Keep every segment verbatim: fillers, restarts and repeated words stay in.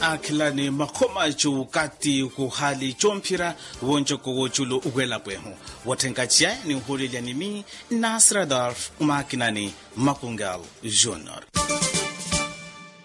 Akhilani makhoma cuukati kuhali comphira wonjoko woculu welapwehu. Wotthenkaciya ni uhulilya nimi nasradolf umakinani makungal junior.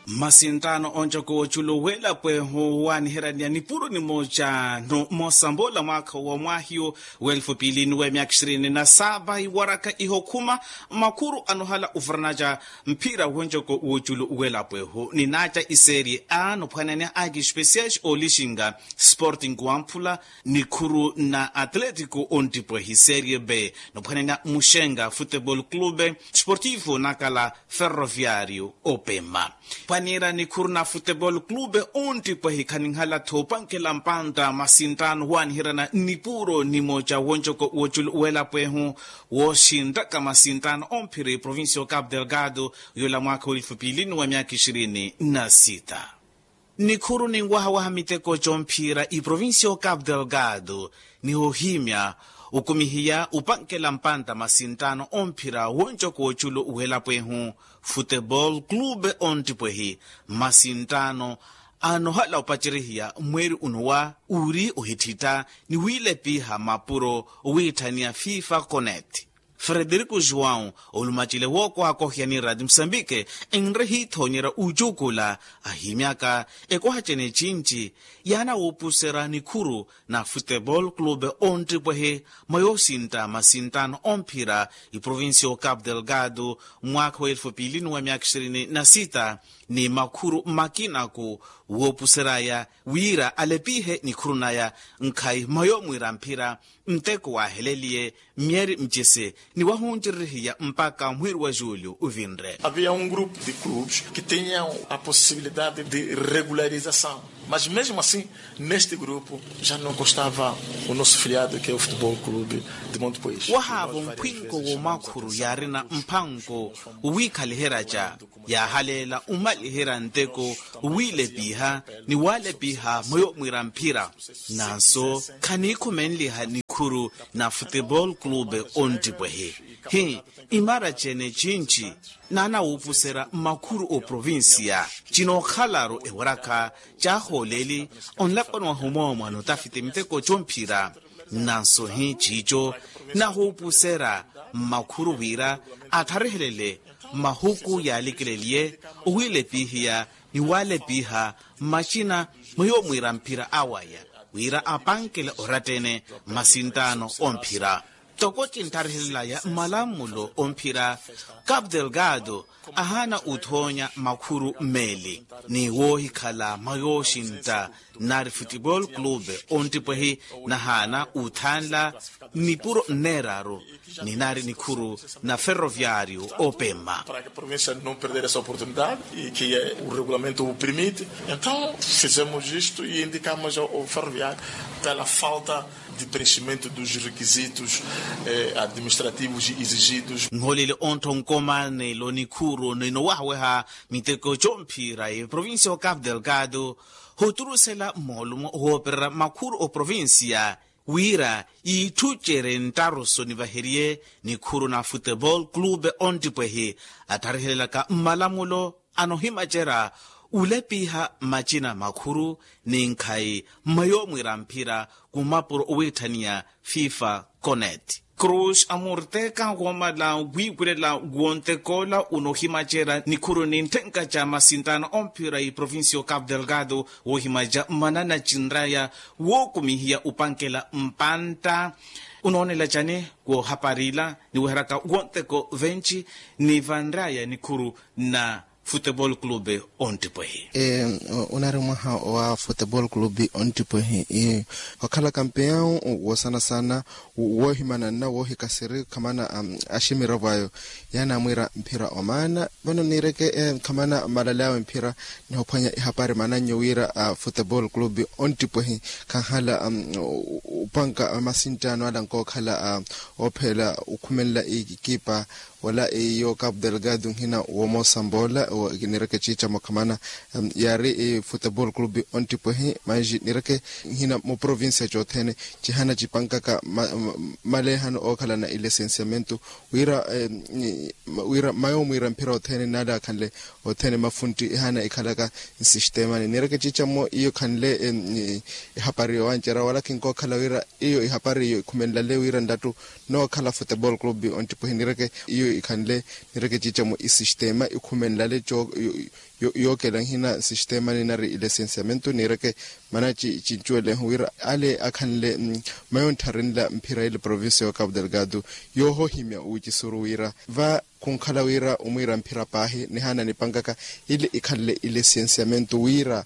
Masinttano onjoko woculu welapwehu waniheraniya nipuro nimoca no mosambola mwakha wa mwahiyo welfu pili ni wemyaka ishirini na saba iwaraka ihokhuma makhuru anohala uvaranaca mphira wonjoko woculu welapwehu ninaca iserie a nophwanene aki especiais olixinga sporting wamphula nikhuru na atletico ontipwehi serie b nophwanene muxenga futebol clube sportivo nakala ferroviario opema. Pwanira nikhuru na futebol clube ontipwehi khaninhala thopankela mpantta masinttano waniherana nipuro nimoca wonjoko woculu welapwehu woxinttaka masinttano omphiri provincia o capu delgado yola mwakha welifu pili ni wa myaka ishirini na sita. Nikhuru ninwahawaha miteko comphira iprovincia o capu delgado nihohimya ukumihiya upankela mpantta masinttano omphira wonjoko woculu welapwehu futebol clube ontipwehi masinttano anohala opacerihiya mweeri unowa uri ohithitta ni wiilepiha mapuro owiitthaniya fifa conet. Frederico joão olumacile wookohakohiya ni rati musambike enre hiithoonyerya ucuukula ahimyaka ekohacene cinci yaana wuupuserya nikhuru na futebol clube ontipwehe mwa yoosintta masinttano omphira iprovincia o capu delgado mwaakha wa elfu piili ni wa myaakha ishirini na sita ni makhuru makinaku woopuseryaya wira alepihe nikhuru naya nkhayi mwa yoomwiira mphira nteko waaheleliye myeeri mcisi ni wahuncererihiya mpakha mwiiri wa julio uvinre. Havia um grupo de clubes que tinham a possibilidade de regularização, mas mesmo assim neste grupo já não constava o nosso filiado que é o futebol clube de monte pois wahaavo mphwinko woomakhuru yaarina mphanko owiikhaliherya ca yaahaleela omaliherya nteko owiilepiha ni waalepiha mwa yoomwiira mphira nanso khaniikhumenliha nikhuru na futebol clube ontipwehe hi imara cene cinci naana wuupuserya makhuru oprovincia cinookhalaru ewarakha caahooleli onlapwani wahu moomwa notafiti miteko comphira nanso hi ciico nahuupuserya mmakhuru wira atharihelele mahuku yaalikeleliye owiilepihiya ni waalepiha mmacina mwa yoomwiira mphira awaya wira apankele oratta-ene mmasinttaano omphira toko cinttarihelelaya mmalamulo omphira capu delgado ahaana uthoonya makhuru mmeeli ni woohikhala mwa yooxintta nari futebol clube ontipwehi nahaana uthanla nipuro nneeraru ni nari nikhuru na ferroviario opema. Para que a provincia não perder essa oportunidade e que o regulamento o permite, então fizemos isto e indicamos ao ferroviario pela falta de preenchimento dos requisitos administrativos exigidos. Nholele onttho nkomanelo nikhuru ninowahaweha miteko comphira eprovincia o capu delgado hoturusela moolumo woopererya makhuru oprovincia wira iitthucere nttaruso nivaheriye nikhuru na futebol clube ontipwehi attharihelelaka mmalamulo anohimacerya ulepiha mmacina makhuru ni nkhayi mma yoomwiira mphira kumapuro owiitthaniya fifa conet. Cruz amurteka woomala wiiwilela wontekoola unohimacerya nikhuru ni ntthenka ca masinttaano omphira iprovincia o capu delgado woohimaca mmanana cinraya wookumihiya upankela mpantta unoonela cani woohaparila ni weheraka wonteko venci ni vanraya nikhuru na futebol clube ontipwehi. Onari mwaha wa futebol clube ontipwehi okhala kampeyawu wosanasana woohimananna woohikasiri khamana aximiravo ayo yaani amwiira mphira omaana vano niireke khamana malale awe mphira nihophwanya ihapari mananyo wira futebol clube ontipwehi khanhala upanka masinttaano ala nkookhala oopheela okhumelela ikipa Wala iyo capu delgado nhina womosa mboola. Nireke ciica mukhamana yaari futebol clube ontipwehi manji nireke nhina muprovincia cothene cihana cipankaka maleehano ookhalana ilesensiamentu wira wira mayo mwiira mphira othene nale akhanle othene mafunti ehana ikhalaka nsisteemani nireke ciica mmo iyo khanle ehapari yowancerya wala kinkokhala wira iyo ihapari iyo ikhumenlale wira nlattu nookhala futebol clube ontipwehi nireke iyo ikhanle nireke ciica mmo isisteema ikhumenlale yookela nhina nsisteemani nari ilesensiamentu nireke mana cincuwelehu wira ale akhanle mayo nttharenla mphira ile provincia yo capu delgado yoohohimya wicisuru wira va khunkhala wira omwiira mphira paahi nihana nipankaka ile ikhanle ilesensiamentu wira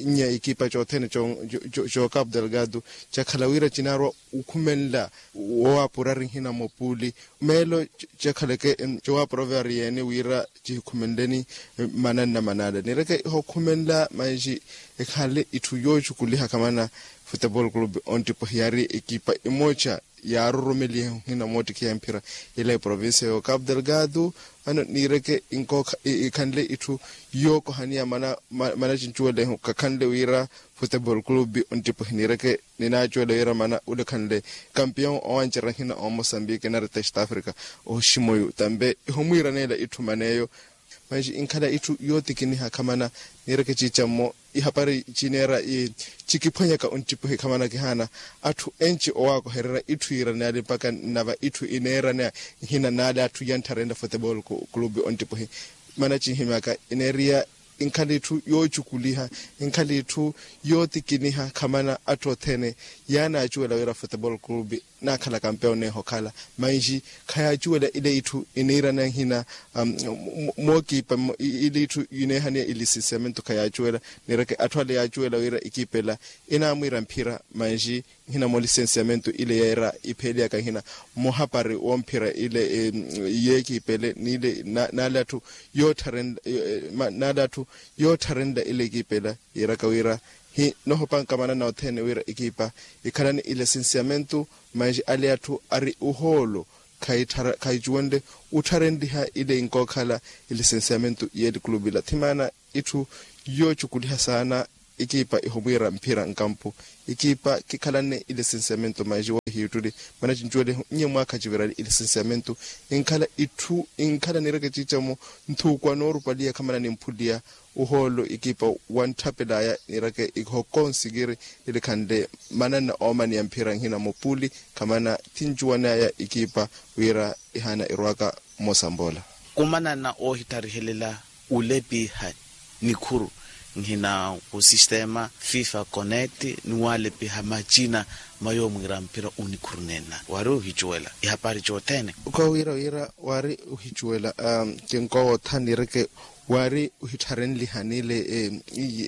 nya ikipa cothene co capu delgado cakhala wira cinaarwa okhumenla wowaapurari nhina mopuli meelo cakhaleke cowaapura ovevari yeene wira cihikhumenleni mananna manaala nireke ihokhumenla manji ekhanle itthu yoocukuliha khamana futebol clube ontipwehi yaari ekipa emoca yaarurumelihe nhina moottikhiha mphira ila eprovincia yo capu delgado vano niireke inkokha ikhanle itthu yookohaniya mana cincuwelehu kakhanle wira futebol clube ontipwehi niireke ninaacuwela wira mana ule khanle kampiyon owancerya nhina omosambike nari test africa oximoyu tambe ihomwiiraneela itthu maneeyo manji inkhala itthu yootikiniha khamana niireke ciica mmo ihapari cineera cikiphwanyaka onttipuhi khamana kihaana atthu enci owaakohererya itthu yiiraneya ali mpakha nnava itthu ineeraneya nhina naale atthu yanttharenrya futebol clube onttipuhi mana cinhimyaka ineeriya inkhala itthu yoocukuliha inkhala itthu yootikiniha khamana atthu othene yaanaacuwela wira futebol clube naakhala kampeyo neeha okhala manji khayaacuwela ile itthu iniirana nhina mookiipa ile itthu ineehaniya ilisinsiamentu khayaacuwela nireke atthu ale yaacuwela wira ikiipa ela inaamwiira mphira manji nhina moolisinsiamentu ile yeera ipheeliyaka nhina muhapari womphira ile yeekiipa ele niile naale atthu yoottharenla naale atthu yoottharenla ile ekiipa ela yiiraka wira hi nohopanka manana othene wira ekiipa ikhalani ilesensiamentu manji ale atthu ari ohoolo khayicuwenle ottharenliha ile inkookhala ilesensiamentu yeeli clube ila thimaana itthu yoocukuliha saana ekiipa ihomwiira mphira nkampu ekiipa kikhalanne ilesensiamentu manji woohiittuli mana cincuwelehu nnye mwaakha civirali ilesensiamentu inkhala itthu inkhala nireke ciica-mo nthuukwa noorupaliya khamana nimphuliya ohoolo ikipa wantthapelaya nireke ihokonsikiri ilikhanle mananna oomaniya mphira nhina mupuli khamana thincuwanaya ikipa wira ihaana irwaka mmosa mboola. Khumanana oohittharihelela ulepiha nikhuru nhina khusistema fifa connect ni waalepiha macina ma yoomwiira mphira onikhuru nenna waari ohicuwela ihapari cothene. Kowira wira waari ohicuwela kinkowootha nireke waari ohittharenliha niile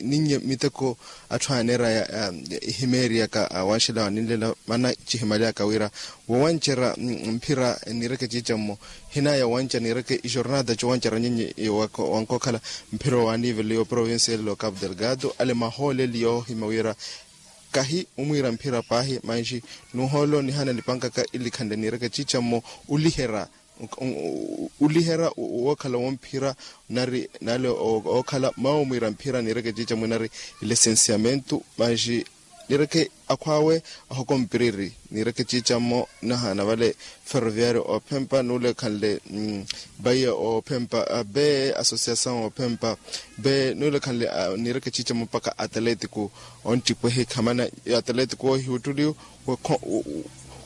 ninnye miteko atthu aaneeraya ehimeeriyaka wanxela waninlela mana cihimaliyaka wira wowancerya mphira nireke ciica-mo hinaya wanca nireke ijornada cowancerya nyinyi wankookhala mphira wa nivele yo provincia ele lo capu delgado ale mahooleli yoohima wira kahi omwiira mphira paahi manji nuhoolo nihana nipankaka ilikhanle nireke ciica-mo uliherya uliherya wookhala womphira nari naale ookhala mawo mwiira mphira nireke ciica-mo nari ilesensiamentu manji nireke akhwaawe ahokompiriri nireke ciica-mo nahana vale ferroviario ophempa nuule khanle baia ophempa be association ophempa be nuule khanle nireke ciica-mo mpakha atlético onttipwehi khamana atlético oohiwuttuli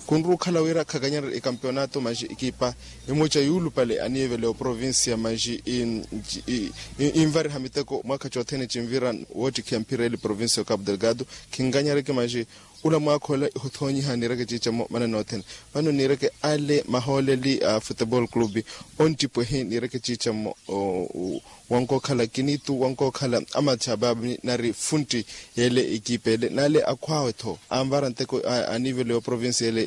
khunrukhala wira khakanyererye ikampeonato manji ikipa imoca yuulupale anivele oprovincia manji invariha miteko mwaakha cothene cinvira woottikhiya mphira ele provincia o capu delgado khinkanyereke manji ula mwaakha ola ihuthoonyiha nireke ciica-mo manana othene vano nireke ale mahooleli a futebol clube onttipwehi nireke ciica-mo wankookhala kinitu wankookhala amachababi nari funtti yeele ekipa ele naale akhwaawe-tho anvara nteko anivele yo provincia ele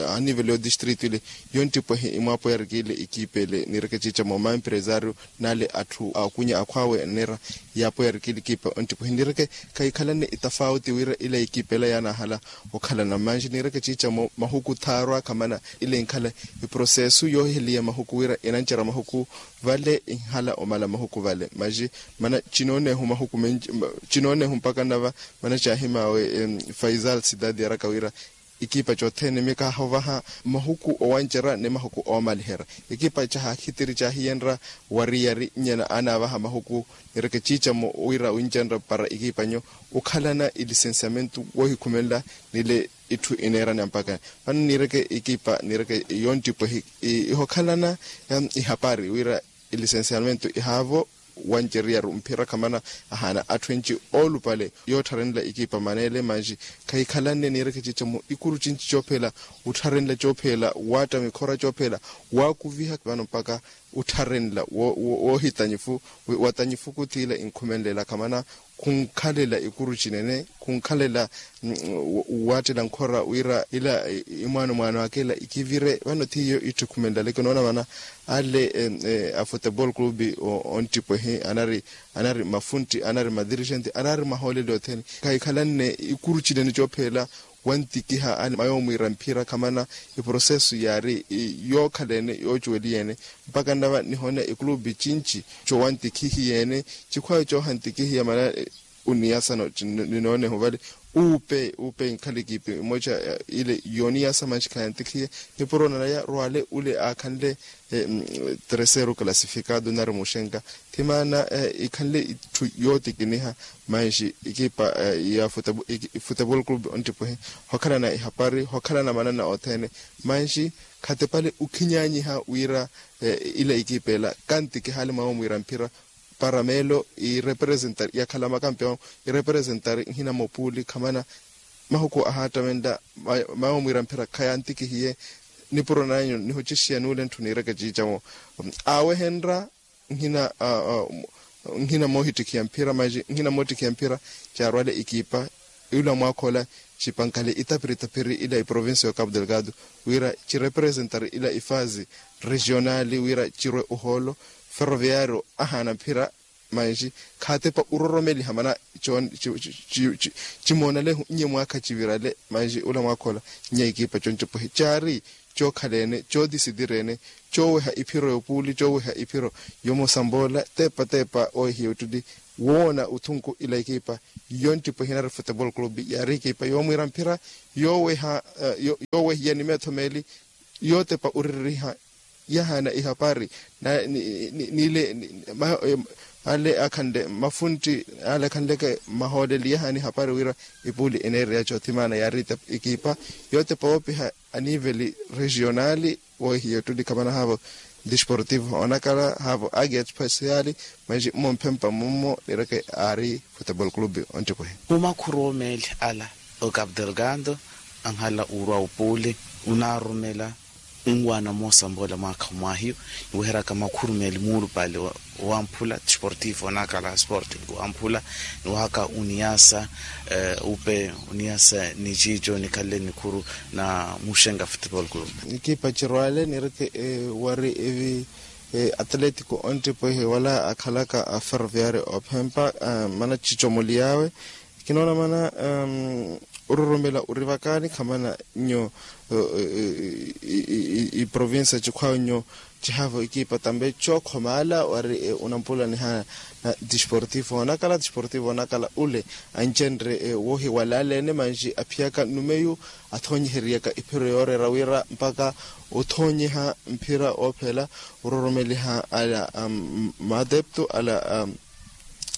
anivele yo distrito ele yonttipwehi imwaapo yarikile ekipa ele nireke ciica-mo maempresario naale atthu akunya akhwaawe aneera yaapo yarikile ekipa onttipwehi nireke khayikhalanne itafauti wira ila ekipa ela yaana naahala okhalana manji niireke ciicamo mahuku thaarwa khamana ile inkhala iprosesu yoohiheliya mahuku wira inancerya mahuku vale inhala omala mahuku vale manji mana cinoonehu mahuku menji cinoonehu mpaka nava mana caahimaawe faisal sidadi yaraka wira ikipa cothene mikahovaha mahuku owancerya ni mahuku oomaliherya ikipa caha khitiri caahiyenrya wariyari nyena anaavaha mahuku nireke ciicamo wira wincenrya para ikipanyo okhalana ilisensiamentu woohikhumenla nile itthu ineerani ampakani vano nireke ikipa nireke yonttipwehi ihokhalana ihapari wira ilisensiamentu ihaavo wanceryaru mphira khamana ahaana atthu enci oolupale yoottharenla ikipa maneele manji khahikhalanne niireke ciicamo ikuru cinci coophela uttharenla coophela waatta mikhora coophela waakuviha vano mpaka uttharenla woohitanyifu watanyifu kuthiila inkhumenlela khamana khunkhalela ikuru cinene khunkhalela waattela nkhora wira ila imwaano mwaano akela ikivire vano thiyo ittikhumenlale kinoona vana ale a futebol club onttipwehi anari anari mafuntti anari madirigente anari mahooleli othene khahikhalanne ikuru cinene coophela wantikiha mayoomwiira mphira khamana iprosesu yaari yookhalene yoocuweliyeene mpaka nnava nihona ikulupi cinci cowantikihiyeene cikhwayo coohantikihiya mana uniyasano ninooneho vale uupe uupe inkhala ikipi mmoja ile yooniyasa manxi khayantikhiye nipuro nanaya rwale ule aakhanle terceiro classificado nari muxenka thimaana ikhanle itthu yootikiniha manxi ikipa ya futebol club onttipwehe hokhalana ihapari hokhalana manana othene manxi khatepale ukhinyanyiha wira ila ikipa ela kantikihale mwawo mwiira mphira para meelo irepresentari yakhala makampeon irepresentari nhina mopuuli khamana mahuku ahaattavenla mawo mwiira mphira khayantikihiye nipuro nanyu nihucixiya nuule ntthu niireke ciicamo aawehenrya nhina nhina moohittikhiya mphira manji nhina moottikhiya mphira caarwale ikipa ila mwaakhola cipankale itaphiritaphiri ila iprovincia ya capu delgado wira cirepresentari ila ifazi regionali wira cirwe ohoolo ferroviario ahaana mphira manji khaatepa uroromeliha mana cimoonalehu nnye mwaakha civirale manji ula mwaakhola nnye ikipa concopohi caari cookhaleene coodisitireene cooweha iphiro yopuuli cooweha iphiro yomosambola teepa teepa owehiya ottuli woona othunku ila ekipa yonttipwehi nari futebol club yaari ekipa yoomwiira mphira yooweha yoowehiya ni meetho meeli yootepa oriririha yahaana ihapari nile ale akhanle mafuntti ale akhanleke mahooleli yahaana ihapari wira ipuuli eneereya coothimana yaari ekipa yootepa woopiha aniveli regionali woohiya ottuli khamana haavo disportivo onakala haavo agia especiali manji mmomphempa mummo nireke aari futebol club onttipwehi. Mumakhuru omeeli ala o capu delgado anhala urwa upuuli unaarumela nwaana moosambola mwaakha mwahiyo niweheraka makhuru meeli muulupale wamphula disportivo onakala sporting wamphula niwahaka uniyasa upe uniyasa ni ciico nikhanle nikhuru na muxenka futebol club. Ekipa cirwale nireke wari evi atletico onttipwehi wala akhalaka a ferroviario ophempa mana cicomoli yawe kinoona mana ororomela orivakaani khamana nyo iprovincia cikhwawe nyo cihaavo ekipa tambe cookhoma ala wari unampula nihana na disportivo onakala disportivo onakala ule ancenre woohiwalaleene manji aphiyaka numeyu athoonyiheriyaka iphiro yooreera wira mpaka othoonyiha mphira oophela ororomeliha ala maadepto ala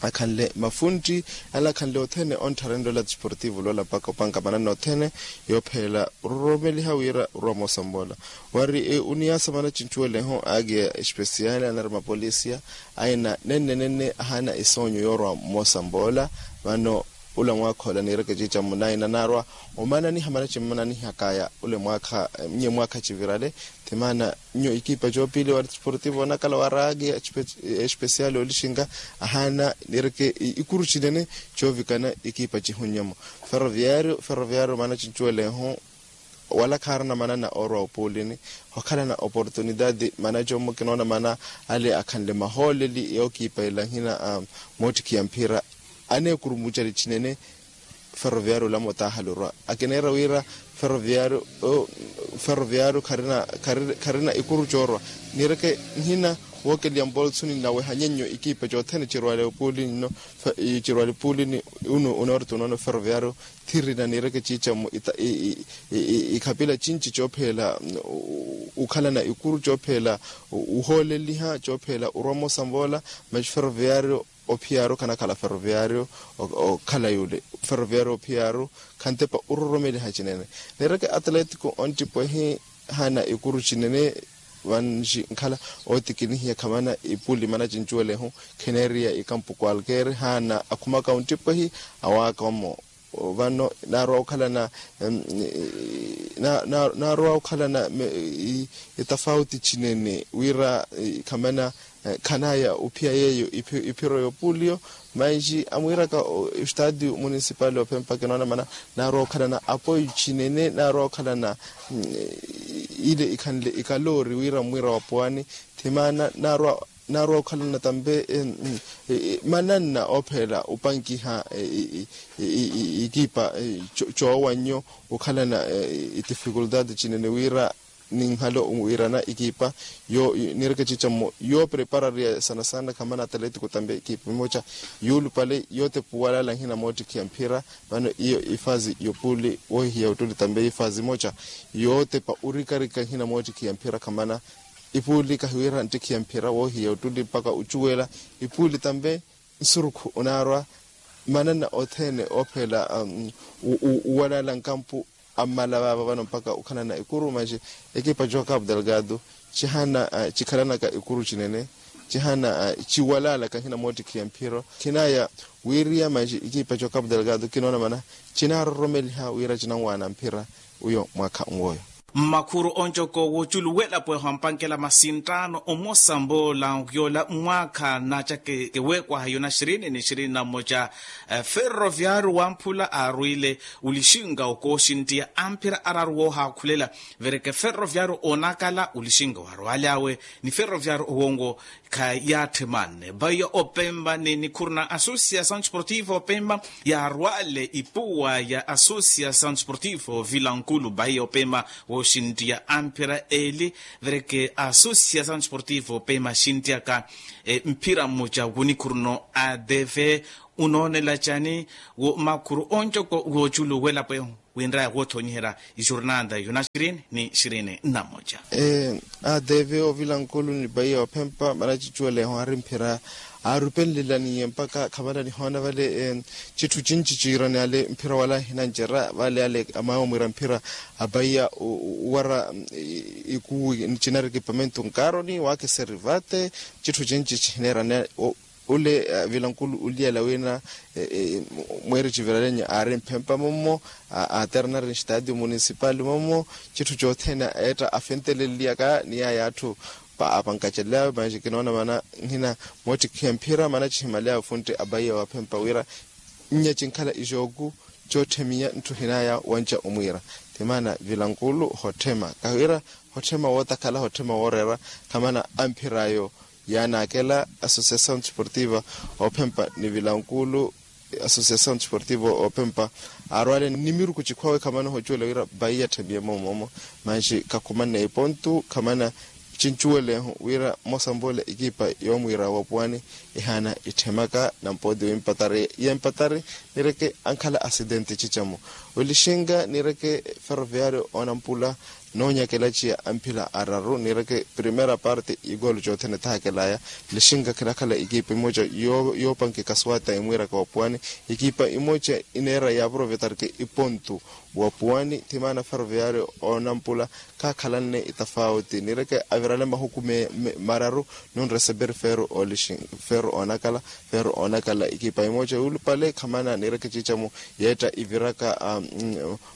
akhanle mafuntti ala akhanle othene onttharenle ola disportivo loola mpaka opanka manana othene yoophelela ororomeliha wira orwa moosamboola wari uniyasa mana cincuweleho aagiya espesiali anari mapolisia aina nenne nenne ahaana esoonyo yoorwa moosamboola vano ula mwaakha ola niireke ciica munaina naarwa omananiha mana cimmananihakaya ule mwaakha nye mwaakha civirale ti maana nyo ekipa coopili wa desportivo onakala wa raagi espesiali olixinka ahaana niireke ikuru cinene coovikana ekipa cihunnyemo ferroviario ferroviario maana cincuweleho wala khaarina manana oorwa opuulini hokhalana oportunidade mana commo kinoona mana ale akhanle mahooleli yookiipa ela nhina moottikhiya mphira aneekurumucali cinene ferroviario olamo taahali orwa. Akineera wira ferroviario ferroviario kharina ikuru coorwa. Niireke nhina wookeliya mbolsuni nnaweha nyennyo ikiipa cothene cirwale opuulini nno. Cirwale opuulini unu onorti onono ferroviario thirina niireke ciicamu ikhapila cinci coopheela okhalana ikuru coopheela ohooleliha coopheela orwa mmosa mvoola. Masi ferroviario ophiyaaru khanakhala ferroviario okhala yule ferroviario ophiyaaru khantepa ororomeliha cinene. Niireke atletiko onttipwehi haana ikuru cinene. Vanci nkhala ootikinihiya khamana ipuli mana cincuwelehu khineeriya ikampu kwalkeeri haana akhumaka onttipwehi awaaka omo. Vano naarwa okhalana naarwa okhalana itafauti cinene wira khamana khanaya ophiya yeeyo iphiro y'opuliyo. Manji amwiiraka estadio municipal ophempa kinoona mana naarwa okhalana apoyo cinene naarwa okhalana ile ikhanle ikaloori wira mmwiira wa puwani. Thimaana naarwa okhalana tambe mananna oopheela opankiha ikipa coowannyo okhalana itifikultati cinene wira ninhalo wiirana ikipa. Niireke ciica mmo yoopreparariya sana sana khamana atletiko tambe ikipa imoca yuulupale yootepa owalala nhina moottikhiya mphira. Vano iyo ifazi yopuuli woohihiya ottuli tambe ifazi imoca yootepa orikarika nhina moottikhiya mphira khamana ipuuli kahiwira nttikhiya mphira woohiya ottuli mpaka ocuwela ipuuli tambe nsurukhu onaarwa mananna othene oopheela owalala nkampu ammala vaava vano mpaka okhalana ikuru manji ekipa cokapu delgado cihana cikhalanaka ikuru cinene cihana ciwalalaka nhina moottikhiya mphiro khinaya wiiriya manji ekipa cokapu delgado kinoona mana cinaaroromeliha wira cinanwaana mphira uyo mwaakha nwooyo. Mmakhuru oncoko woculuwela pweho ampankela masinttaano omosa mboola yoola mwaakha naaca kewekwaha yona xirini ni xirini na mmoca. Ferroviario wamphula aarwiile olixinka okooxinttiya amphira araru woohaakhulela vereke ferroviario oonakala olixinka waarwaale awe ni ferroviario owongo khayaatthimanne baiya opempa ni nikhuru na associação desportiva opempa yaarwaale ipuwa ya associação desportiva ovila nkulu baiya opempa wooxinttiya amphira eeli vereke associação desportiva opempa xinttiyaka mphira mmoca wonikhuru no adv unoonela cani wo makhuru oncoko wooculuwela pwehu winraya woothonyiherya ixurnanda yona xirini ni xirini na mmoca. Adv ovila nkulu ni baiya ophempa mana cicuweleho aari mphira aarupenlelaniye mpaka khavala nihoona vale citthu cinci ciirani ale mphira wala hinancerya vale ale amaawe omwiira mphira abaiya owara ikuwu cinari ekipamentu nkaaroni waakiseri vate citthu cinci cihineerani. Ole vilankulu oliyela wina mweeri civiralenya aari mphempa mommo aaternari nstadio municipal mommo citthu cothene eetta afenteleliyaka ni yaya atthu apankacelelawe manji kinoona mana nhina moottikhiya mphira mana cihimaleyaawe funtti abaiya wa phempa wira nnya cinkhala ixooku cootthemiya ntthu hinaya wanca omwiira. Ti maana vilankulu hotthema kahiwira hotthema wootakhala hotthema wooreera khamana amphir'ayo yaanaakela associação desportiva ophempa ni vilankulu associação desportiva ophempa aarwaale ni miruku cikhwawe khamana ohocuwela wira vaiya tthemiye moomoomo manji khakhumanne ipontu khamana cincuwelehu wira mmosa mboola ekipa yoomwiira wa puwani ihaana itthemaka nampooti wimpatari yempatari nireke ankhala asidenti cicamu olixinka nireke ferroviario oonampula noonyakela ciya amphila araru nireke primera parte igolo cothene thakelaya lixinka khinakhala ekipa imoca yoopankeka swata imwiiraka wa puwani ekipa imoca ineera yaaprovetarke ipontu wa puwani ti maana ferroviario oonampula khaakhalanne itafauti nireke avirale mahuku mararu nunreseberi feero oonakala feero oonakala ekipa imoca yuulupale khamana nireke cicamu yeetta iviraka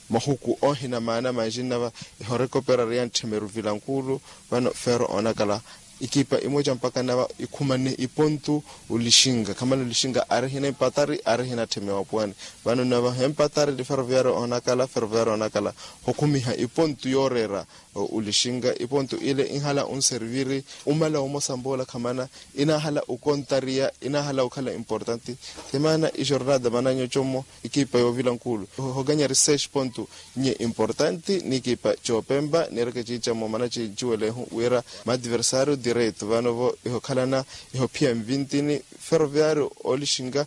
mahuku oohina maana manji nnava ehorekoperari yantthemeri ovilankulu vano feero oonakala ikipa imoca mpakha nava ikhumane ipontu. Olixinka khamana olixinka aari hina empatari aari hina tthemewa puwani. Vano nava hempatari ni ferroviario onakala ferroviario onakala hokhumiha ipontu yooreera. Olixinka ipontu ile inhala onserviri omala omosa mboola khamana inahala okontariya inahala okhala importante. Thimana ijornada mananyo commo ikipa yoovila nkulu hokanyari seis pontu. Nye importante n'ikipa coopempa niireke ciicamo mana cinciwelehu wira maadversario direito vano-vo ihokhalana ihophiya nvintini. Ferroviario oolixinka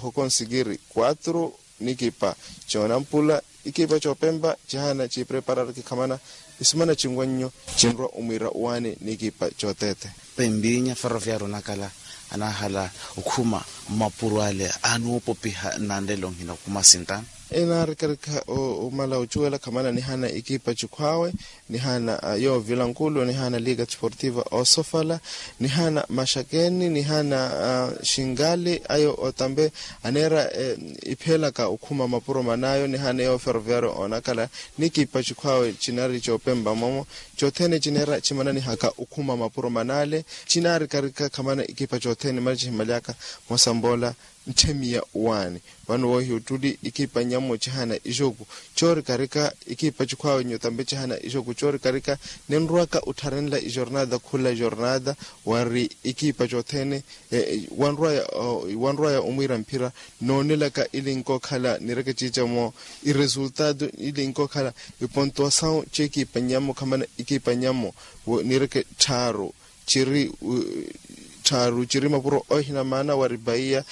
hokonsikiri quatro n'ikipa coonampula ikipa coopempa cihana ciipreparariki khamana isimana cinwannyo cinrwa omwiira owaani n'ikipa cooteete. Pempinya ferroviario onakala anahala okhuma mmapuro ale anoopopiha nnanlelo nhina okhuma sintano. Inaarikarika omala ocuwela khamana nihana ikipa cikhwaawe nihana yoovilankulu nihana liga desportiva osofala nihana maxakeni nihana xingali ayo otampe aneera iphelaka okhuma mapuro man'ayo nihana yooferoviario onakala n'ikipa cikhwaawe cinari coopempa momo. Cothene cineera cimananihaka okhuma mapuro man'ale cinaarikarika khamana ikipa cothene mara cihimalyaka mosamboola nthemiya waani. Vano woohiya ottuli ikipa nyammo cihana ijoku coorikarika ikipa cikhwaawe nyotambe cihana ijoku coorikarika ninrwaka ottharenla ijornada khula jornada wari ikipa cothene wanrwaya omwiira mphira noonelaka ili nkookhala nireke ciicamo iresultado ili nkookhala ipontuasawu cekipa nyammo khamana ikipa nyammo nireke tthaaru ciri tthaaru ciri mapuro ohina maana wari bahiya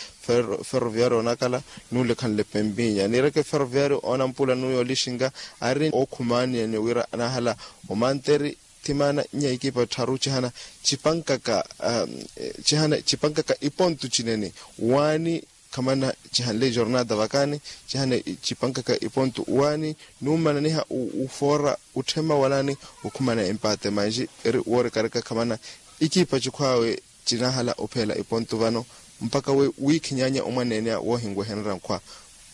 ferroviario onakala nuule khanle pempinya nireke ferroviario onampula nuuyo olixinka ari ookhumaaniyani wira anahala omanteri. Thimaana nya ikipa tthaaru cihana cipankaka cihana cipankaka ipontu cinene waani khamana cihanle jornada vakani cihana cipankaka ipontu waani nuumananiha ufoora utthema walani okhumana empate manji eri woorikarika khamana ikipa cikhwaawe cinahala opheela ipontu vano mpaka we wiikhinyaanya omwaneene woohinwehererya nkhwa.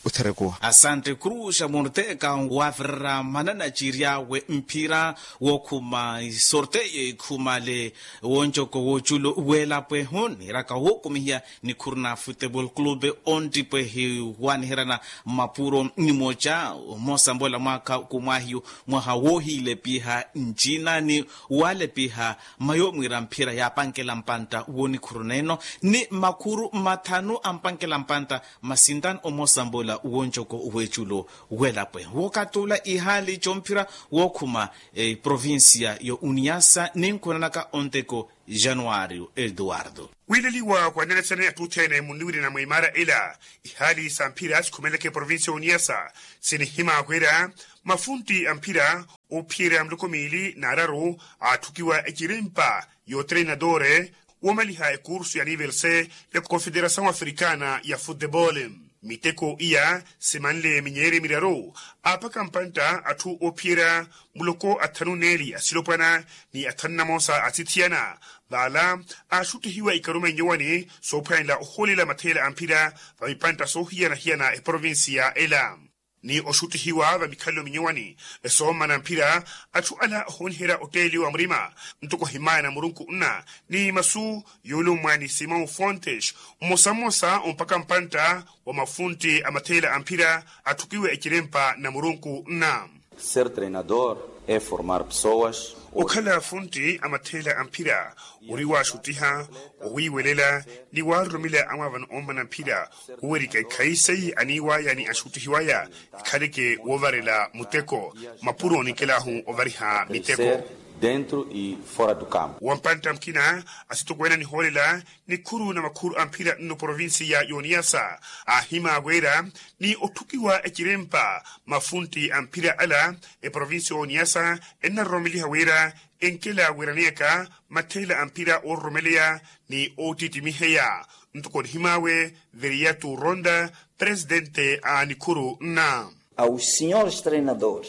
Otherekowa asante kruxa morteka waavirira manana ciry'awe mphira wookhuma isorteyo ikhumale wooncoko wooculo weelapwehu niiraka wookumihiya nikhuru na futebol clube onttipwehi waaniheryana mmapuro nimoca omoosamboola mwaakha kumwaahiyu mwaha woohiilepiha ncina ni waalepiha mma yoomwiira mphira yaapankela mpantta woonikhuru neeno ni makhuru mmathanu a mpankela mpantta mma sintano omoosamboola wooncoko weeculo weelapwe wookatula ihaali comphira wookhuma eprovincia yo uniasa ninkhunanaka onteko januario eduardo. Wiileliwa khwanelesene atthu othene munniwirina mwa imaara ela ihaali sa mphira sikhumeleke provincia yo uniasa sinihimaakhwera mafuntti a mphira ophiyerya muloko miili n'araru aatthukiwa ecirimpa y'otreinadore woomaliha ekursu ya nivel se ya confederasaw africana ya futebol. Miteko iya simanle minyeerye miraru aapaka mpantta atthu oophiyerya muloko athanu neeli asilopwana ni athanu namoosa asithiyana vaala aaxuttihiwa ikaruma inyowani soophwanela ohoolela matheela a mphira va mipantta soohiyana-hiyana eprovincia ela ni oxuttihiwa va mikhalelo minyowani esoommana mphira. Atthu ala ohooniherya otteeliwa murima ntoko ohimaya na murunku nna ni masu yoolummwa ni simon fontes mmosa mmosa ompakha mpantta wa mafuntti a matheela a mphira atthukiwe ecirempa na murunku nna. Ser treinador e formar pesoas. Okhala funtti a matheela a mphira ori waaxuttiha owiiwelela ni waaroromela amwaavano oommana mphira khuwerika ekhaisayi aniiwaya ni axuttihiwaya ekhaleke woovarela muteko mapuro ninkelahu ovariha miteko. Dentro e fora do campo wa mpantta mukina asitokweene anihoolela nikhuru na makhuru a mphira nno provincia y'oniyasa aahimaaweera ni otthukiwa ecirempa mafuntti a mphira ala eprovincia y'oniyasa ennaroromeliha wira enkela wiiraneyaka matheela a mphira oororomeleya ni oottittimiheya ntoko nihimaawe veriatu ronda presidente a nikhuru nna. Aos senhores treinadores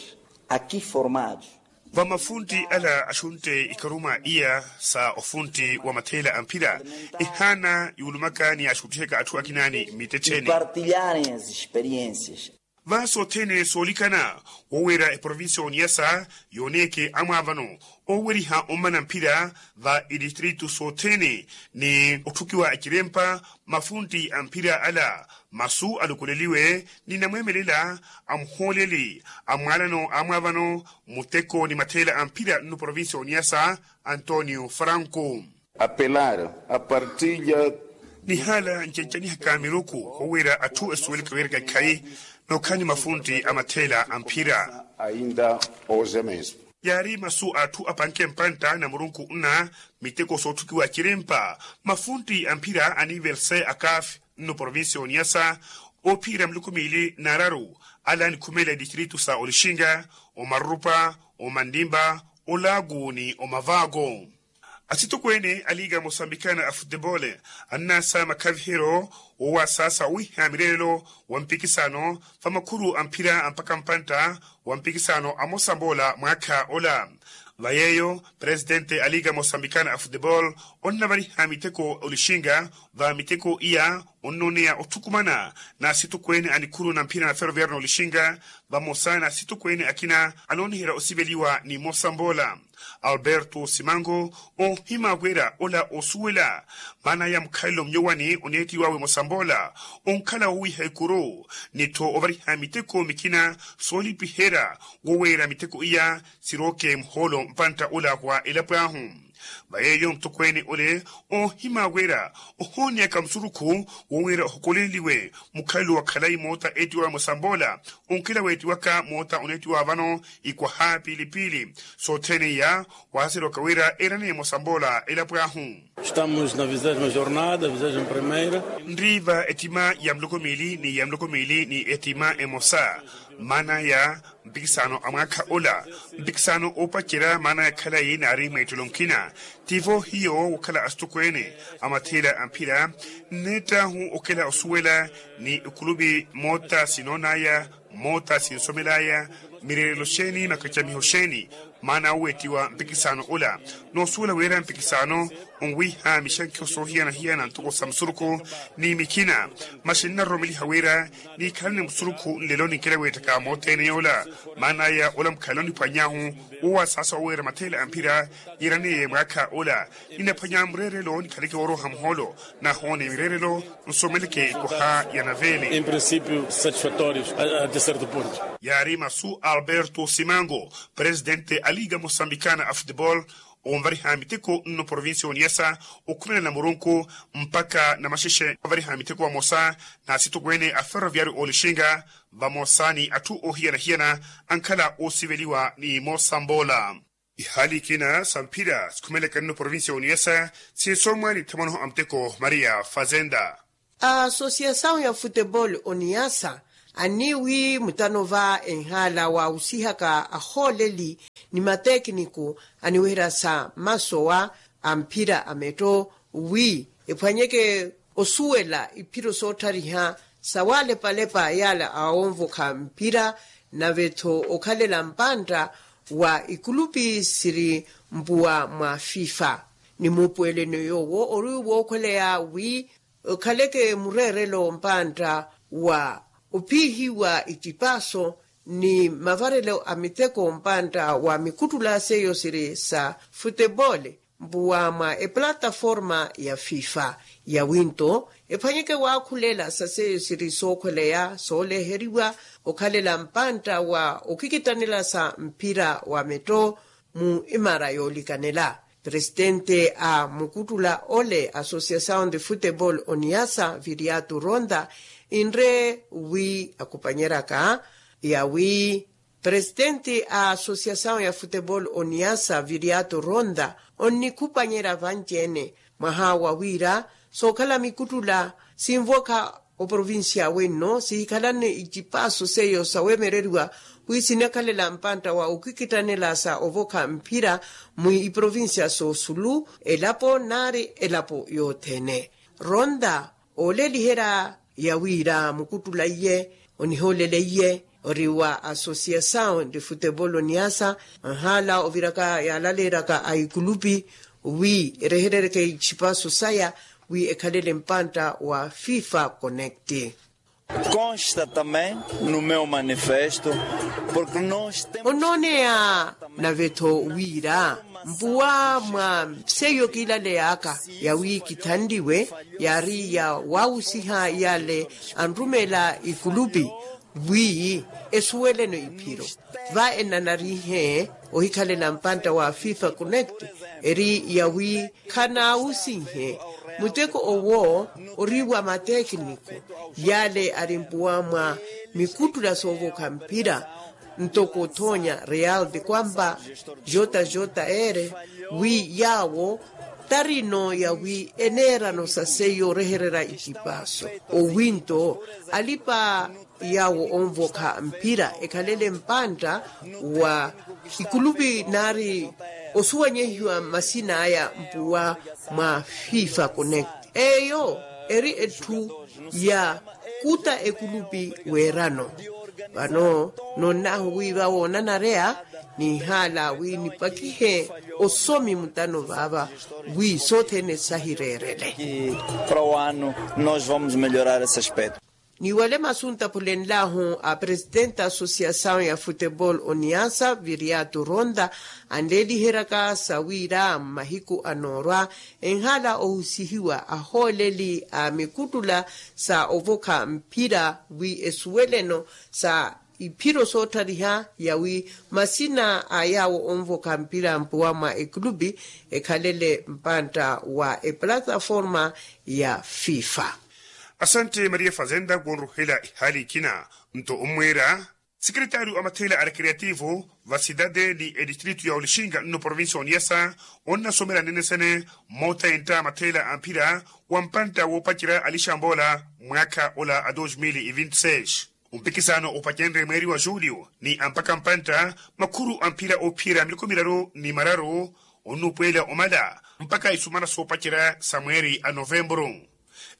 aqui formados. Va mafuntti ala axuntte ikaruma iya sa ofuntti wa matheela a mphira ehaana yuulumaka ni axuttihaka atthu akina ni mittettheni. Partilharem as experiências. Va sothene solikana woweera eprovincia oniyasa yoneke amwavano oweriha omana mphira va itistritu sothene ni otthukiwa ekirempa mafunti a mphira ala masu alukuleliwe ni namwemelela a muhooleli a mwalano amwavano muteko ni matheela a mphira nnu provincia oniyasa antonio franco. Apelar a partilha. Nihaala ncencanihaka miruku wowiira atthu esuweleke wiiraka ekhayi nookhala ni mafunti a matheela a mphira. Ainda hoje mesmo yaari masu a atthu apanke mpantta na murunku nna miteko sootthukiwa cirimpa mafunti a mphira a nivel se akafi nno provincia oniyasa ophiyerya miluku miili n'araru ala anikhumeela etistritu sa olixinga omarurupa omantimpa olaaku ni omavaako. Asitokweene a liga mosambikana a futebole annaasa makhaviheryo owasaasa owiha mireerelo wa mpikisano va makhuru a mphira mpakha mpantta wa mpikisano a mosamboola mwaakha ola. Va yeeyo presitente a liga mosambikana a futebole onnavariha miteko olixinga va miteko iya onnooneya otthukumana n'asitokweene a nikhuru na mphira na ferroviario n'olixinga vamosa n'asitokweene akina anooniherya osiveliwa ni mosamboola. Alberto simango onhima wira ola osuwela maana ya mukhalelo mnyowani oneettiwawe mosamboola onkhala wowiha ekuru nittho ovariha miteko mikina soolipiherya woweera miteko iya sirooke muhoolo mpantta ola wa elapo ahu. Va yeeyo mutokweene ole onhima wira ohooneyaka musurukhu wowiira ohokoleliwe mukhalelo wa khalayi moota eettiwawe mosamboola onkela weettiwaka moota oneettiwa vano ikwaha piili-piili sothene iya waaserewaka wira eeraneye mosamboola elapo ahu. Estamos na vigésima jornada vigésima primeira. Nriiva ettima ya miloko miili ni ya miloko miili ni ettima emosa maana ya mpikisano a mwaakha ola mpikisano oopacerya maana ya khalayi naari mweettelo mukina. Tivo hiyo wokhala asitokweene a matheela a mphira nneettahu okela osuwela ni ikulupi moota sinoonaya moota sinsomelaya mireerelo xeeni makacamiho xeeni maana oweettiwa mpikisano ola noosuwela wira mpikisano onwiha mixankiho soohiyana-hiyana ntoko sa musurukhu ni mikina. Masi nnaroromeliha wira niikhalane musurukhu nlelo ninkela weettaka moothene yoola maana aya ola mukhalelo niphwanyahu wowasaasa oweera matheela a mphira yiiraneye mwaakha ola ninaphwanya mureerelo nikhaleke wooroha muhoolo nahoone mireerelo nsomeleke ikoha ya naveele. Em princípio satisfatórios até certo ponto. Yaari masu a alberto simango presitente a liga mosambikana a futebol onvariha miteko nno provincia oniyasa okhumela na murunku mpakha namaxexe ovariha miteko vamosa n'asitokweene a ferroviario olixinga vamosa ni atthu oohiyana-hiyana ankhala oosiveliwa ni moosamboola. Ihaali ikina sa mphira sikhumelaka nno provincia oniyasa sinsomwa ni thamwanoho a muteko maria fazenda. A asosiasawu ya futebol oniyasa anniiwi mutano va enhaala waawusihaka ahooleli ni matekiniku aniweherya sa masowa a mphira a metto wi ephwanyeke osuwela iphiro sootthariha sawaalepa-lepa yaala awonvokha mphira nave-tho okhalela mpantta wa ikulupi siri mpuwa mwa fifa ni muupuweleno yoowo ori wookhweleya wi okhaleke mureerelo mpantta wa ophiihiwa itipaso ni mavarelo a miteko mpantta wa mikuttula seiyo siri sa futebole mpuwa mwa eplataforma ya fifa yawinto ephwanyeke waakhulela sa seiyo siri sookhweleya sooleheriwa okhalela mpantta wa okikittanela sa mphira wa metto mu imara yoolikanela. Presitente a mukuttula ole asosiasawu de futebol oniyasa viriatu ronda inre wi akhupanyeraka yawi presitente a asosiasawu ya futebol oniyasa viriatu ronda onnikhupanyerya vanci-ene mwaha wa wira sookhala mikuttula sinvokha oprovincia wenno sihikhalane icipaso seiyo sawemereriwa wi sinakhalela mpantta wa okikittanela sa ovokha mphira mwi iprovincia soosulu elapo naari elapo yothene. Ronda ooleliherya ya wira mukuttula iye onihooleleiye ori wa asosiasawu de futebol oniyasa anhaala oviraka yaalaleeraka a ikulupi wi ereherereke icipaso saya wi ekhalele mpantta wa fifa connect. Consta também no meu manifesto, porque nós temos. Onooneya nave-tho wira mpuwa mwa seiyo kiilaleyaka yawi kithanliwe, yaari ya waawusiha yale anrumeela ikulupi wi esuweleno iphiro. Va enanarihe ohikhalela mpantta wa fifa connect, eri yawi khanaawusihe muteko owo ori wa matekiniku yale ari mpuwa mwa mikuttula soovokha mphira, ntoko othoonya real de kwamba jota jota ere, wi yaawo tarino yawi eneerano sa seiyo orehererya itipaaso. Owinto alipa yaawo onvokha mphira ekhalele mpantta wa ikulupi naari osuwanyehiwa masina aya mpuwa mwa fifa connect, eyo eri etthu ya kuta ekulupi weerano. Vano nonnahu wi vawoonanareya nihala wi nipakihe osomi mutano vaava wi sothene sahireerele. Para o ano nós vamos melhorar esse aspecto. Ni wale masu ntaphulenlahu a presidente a associasaw ya futebol oniasa viriatu ronda anleeliheryaka sa wira mmahiku anoorwa enhala ohusihiwa ahooleli a mikuttula sa ovokha mphira wi esuweleno sa iphiro soottariha yawi masina a yaawo onvokha mphira mpuwa mwa ekulupi ekhalele mpantta wa eplataforma ya fifa. Asante maria fazenda wonruhela ihaali ikina. Nto ommweera sikretari wa matheela a rekreativo va sidade ni edistritu ya olixinga nno provincia oniyasa onnasomela nene sene moota entta matheela a mphira wa mpantta woopacerya alixambola mwaakha ola a dos mil e vinti seis. Ompikisano opacenrye mweeri wa julio ni ampaka mpantta makhuru a mphira oophiyerya miloko miraru ni mararu onnupweela omala mpaka isumana soopacerya sa mweeri a novemburu.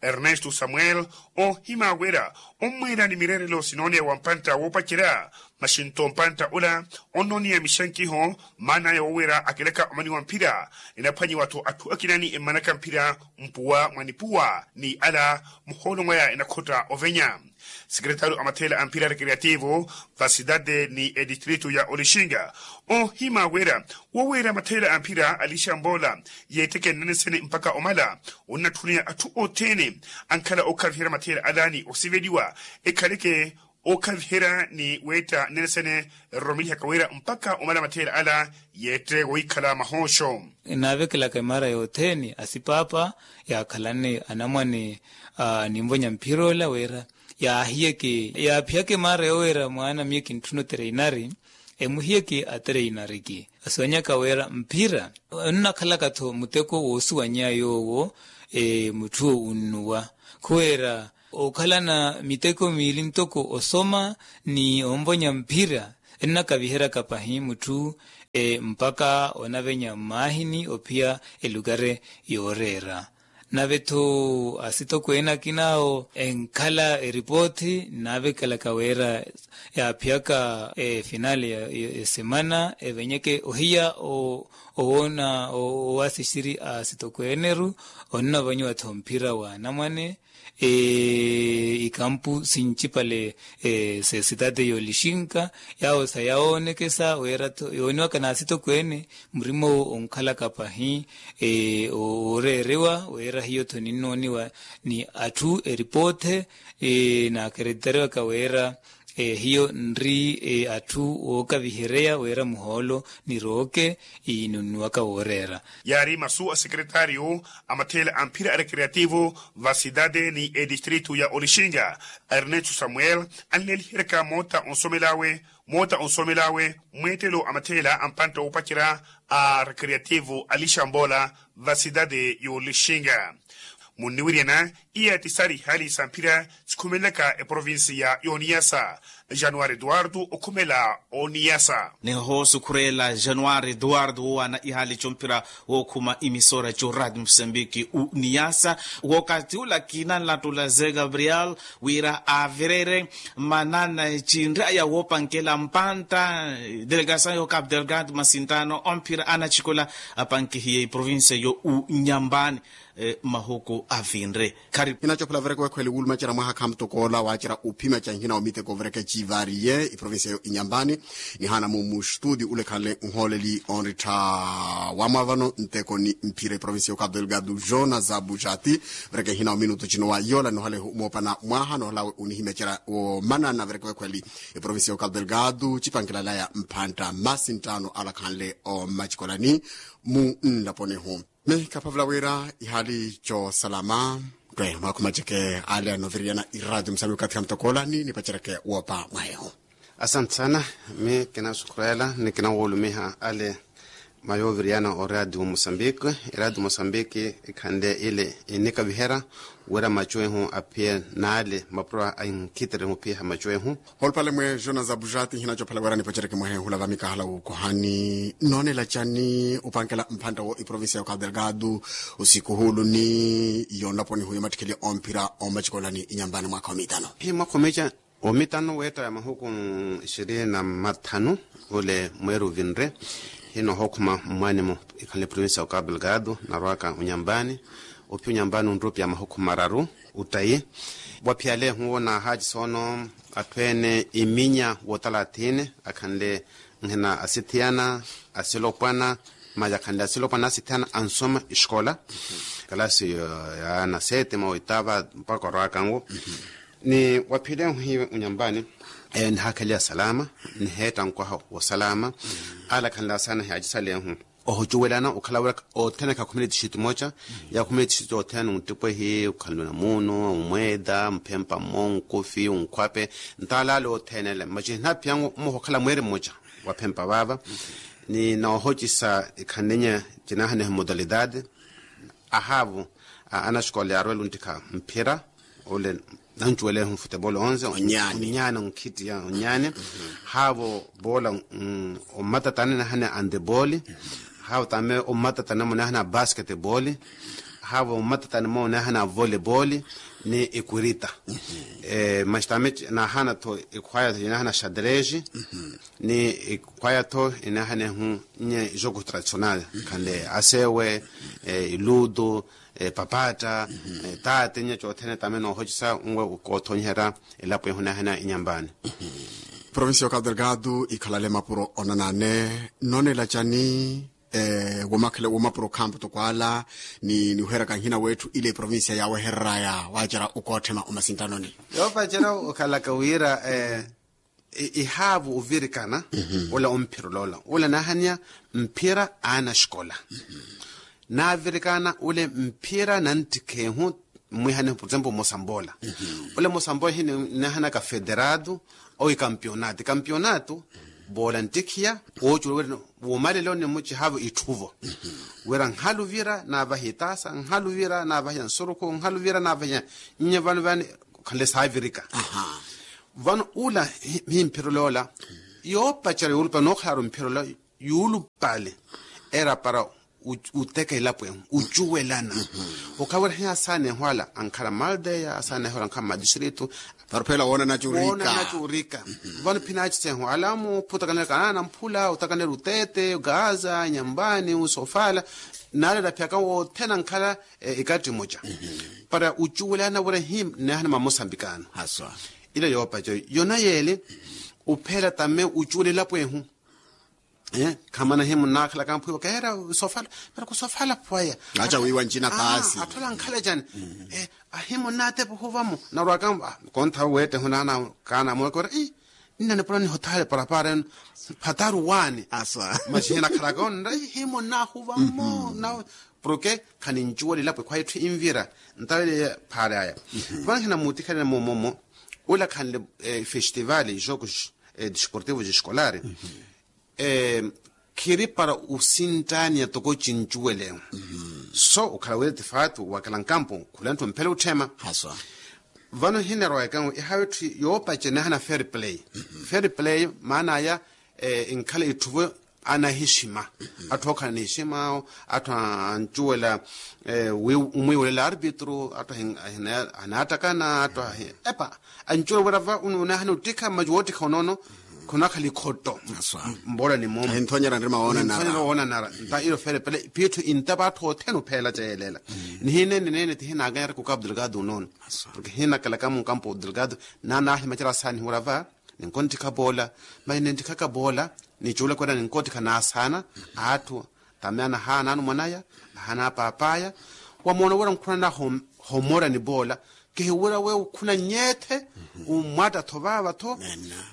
Ernesto samuel oohima wira ommweela ni mireerelo sinooneya wa mpantta woopacerya maxinto mpantta ola onnooneya mixankiho maan'aya wowira akilaka omani wa mphira enaphwanyiwa-tho atthu akina ni emmanaka mphira mpuwa mwa nipuwa ni ala muhoolo mwaya enakhotta ovenya. Sikretari a matheela a mphira a rekreativo va sidade ni edistritu ya olixinga oohima wira woweera matheela a mphira a lixambola yeetteke nnene sene mpaka omala onnatthuniya atthu othene ankhala ookhaviherya matheela ala ni osiveliwa ekhaleke ookhaviherya ni weetta nnene sene eroromeliha kawira mpaka omala matheela ala yeette wohikhala mahooxo. Naavekelaka emaara yothene asipaapa yaakhalane anamwane a ninvonya mphira ola wira yaahiyeke yaaphiyaka emaara yowira mwaana miyo kintthuna otereinari emuhiyeke atereinariki asuwanyaka wira mphira onnakhalaka-tho muteko woosuwanyeya yoowo mutthu onnuwa khuwira okhalana miteko miili ntoko osoma ni onvonya mphira ennakaviheryaka pahi mutthu mpaka onavenya mmaahini ophiya elukari yooreera. Nave-tho asitokweene akin'awo enkhala eripoothi nnaavekelaka wira yaaphiyaka efinale ya esemana evenyeke ohiya owoona owaasixiri a asitokweeneru onnavanyiwa-tho mphira wa anamwane ikampu sincipale sesitati yoolixinka yaawo sayawoonekesa wira-tho yooniwaka n'asitokweene murima owo onkhalaka pahi ooreerewa wira hiyo-tho ninnooniwa ni atthu eripoote n'akereteriwaka wira hiyo nri atthu wookavihereya wira muhoolo ni rooke inunnuwaka wooreera. Yaari masu a sekretaryo a matheela a mphira a rekreativo va sidade ni edistritu ya olixinga ernesto samuel anleeliheryaka moota onsomel'awe moota onsomel'awe mweettelo a matheela a mpantta woopacerya a rekreativo a lixambola va sidade y'olixinga. Munniwiryana iya ti saari ihaali sa mphira sikhumelelaka eprovinsiya y'oniyasa. Januwari eduwardo okhumela oniyasa. Nihoosukhureela januwari eduwardo woowaana ihaali comphira wookhuma imisora coradio mosambiki uniyasa. Wookathi ula kiina nlattula ze gabriel wira aavirere manana cinraya woopankela mpantta delegasayo cap delgado masintano omphira anacikola apankihiye iprovinsiya yo unyambani. mahuku avinre. Khari hinacophela vereke wekhweli wulumacerya mwaha khamutokoola waacerya uphimya canhina wa miteko vereke civaariye iprovincia yo inyambani. Nihaana mu mustudi ulekhanle nhooleli onrittha wamwavano nteko ni mphira iprovincia yo cabo delgado jona za bujati. Vereke nhina wa minutu cino wa yola nohalehu moopana mwaha nohalawe unihimecerya womanana vereke wekhweli iprovincia yo cabo delgado cipankela laya mphantta masi nttaano alakhanle omacikolani mu nlaponihu. Mi khaphavula wira ihali coosalama. Twe mwakhumaceke ale anoviriyana iradio musambi okathi khamutokoola ni nipacereke woopa mwahehu. Asante sana. Mi kinasukhurela ni kinawoolumiha ale mayooviriyana oradio musambiki. Iradio musambiki ikhanle ile inikaviherya wira macu ehu aphiye n'ale mapuro ankhitere ehuphiha macu ehu. Olupale mwe jonas abujati nhinacophela wira nipacereke mwahehu lava mikahala wukohani noonela cani upankela mphantta wo iprovincia yo cabo delgado usiku huulu ni yonlaponihu yomattikhelya omphira omacikolani inyambani mwaakha omitano. Hi mwaakha omica omitano weetta ya mahuku ishirini na mathanu ule mweeri uvinre. Hi noohookhuma mmwaani-mo ikhanle provincia ya cabo delgado narwaaka unyambani. Ophiya unyambani onrupya mahuku mararu uttayi. Waphiyalehu wo naahaacisa ono atthu ene iminya wootalathini akhanle nhina asithiyana asilopwana maya akhanle asilopwana asithiyana ansoma escola kalasi ya nasete ma oitava mpakha orwaakanwo. Ni waphiyalehu hiwe unyambani eyo nihakheliya salama niheetta nkwaha wa salama. Ala akhanle asana hiyaacisalehu ohucuwelana okhala wira othene khakhumele tixiti moca. Yakhume tixiti othene ontipwehi okhanle namuno omweeda mphempa mmo onkufi onkhwape ntaalaale othene ele maci hinaphiyangu mmoha okhala mweeri mmoca wa phempa vaava. Ni noohocisa ikhanle nye cinaahaneha modalidade ahaavu anaxikola yaarwela onttikha mphira ole nancuwelehe onfutebolo onse onyaani onkhittiya onyaani. Haavo boola ommatatani nahana andeboli haavo tame ommatatani mo nahana basketboli haavo ommatatani mo nahana voleboli ni ikwirita. Maxi tame nahana tho ikhwaya tho inahana xadreji ni ikhwaya tho inahanehu nye jogo tradicional khande asewe iludo papatta taate nye cothene tame noohocisa nwe koothonyiherya elapo ehu nahena inyambani. Provincia ya cabo delgado ikhalale mapuro onanane noonela cani? Womakhele womapuro khampo toko ala ni niweheraka nhina wetthu ile provincia yaawehereraya waacerya okootthema omasintanoni. Yoopacerya okhalaka wira ihaavu ovirikana ula omphira oloola ula naahaniya mphira aana axikola. Naavirikana ule mphira nanttikhehu mmwihanehu por example mosamboola ule mosamboola hinahanaka federado owi kampionato kampionato boola nttikhiya woocuwela wira woomaleloni mmuci haavo itthuvo wira nhaluvira naavahiya itaasa nhaluvira naavahiya nsurukhu nhaluvira naavahiya nnye vano vani khanle saavirika. Vano ula himphira oloola yoopacerya yoolupale nookhalaaru mphira ola yuulupale era para uteka elapo ehu ucuwelana okhala wira hiya asaana ehu ala ankhala mmaldeya asaana ehu ala ankhala mmadistrito. Para ophela woonana curika vano phinaacisa ehu ala amu phutakanela kanaana mphula utakanela uteete gaza nyambani usofala naalera phiyaka wothene ankhala ikatti mmoca para ucuwelana wira hi nneehana mamosambikano. Ile yoopaca yona yeele uphela tame ucuwela elapo ehu. Khamana himu nnaakhalaka mpwiwa keera sofala pero kusofala pwaya. Aca wiiwa ncina paasi atthu ala ankhala ecani ahimu nnaatepa ohuvamo narwaka kontha weettehu naana kaana mookora ii nnanipula nihothale parapara enu phataru waani asa maxi hinakhalaka onra ii himu nnaahuva mmo na porke khanincuwela elapo ekhwaya etthu invira ntavele phaari aya. Vano hinamutikhalele moomomo ula khanle festival jogos desportivos escolares khiri para osinttaaniya toko cincuwelewe so okhala wira tifaatu wakela nkampo khula ntthu mphela otthema. Vano hinerowaka ihawe tthi yoopace nahana fair play fair play maana aya inkhala itthuvo anahixima atthu ookhala nihixima atthu ancuwela omwiiwelela arbitro atthu anattakana atthu epa ancuwela wira va unahana ottikha mmaci woottikha onoono khunakhala ikhotto. Mboola ni muuma. Ahinthonyera nrima woonanara. Nta ilo feelepele piitthu intapa atthu othene opheela ceyelela. Nihineene neene tihinakanyara kukapu delgado onoono. Porke hinakalaka munkampu delgado. Naana ahimacela asaani hura va ninkonttikha poola. Masi ninttikhaka poola, nicuula kwela ninkottikha naasaana atthu. Tame anahaana anumwanaya, ahaana paapaya. Wamoona wira nkhunana homoorani poola. Kihiwira we ukhuna nyeethe ummwatta-tho vaava-tho.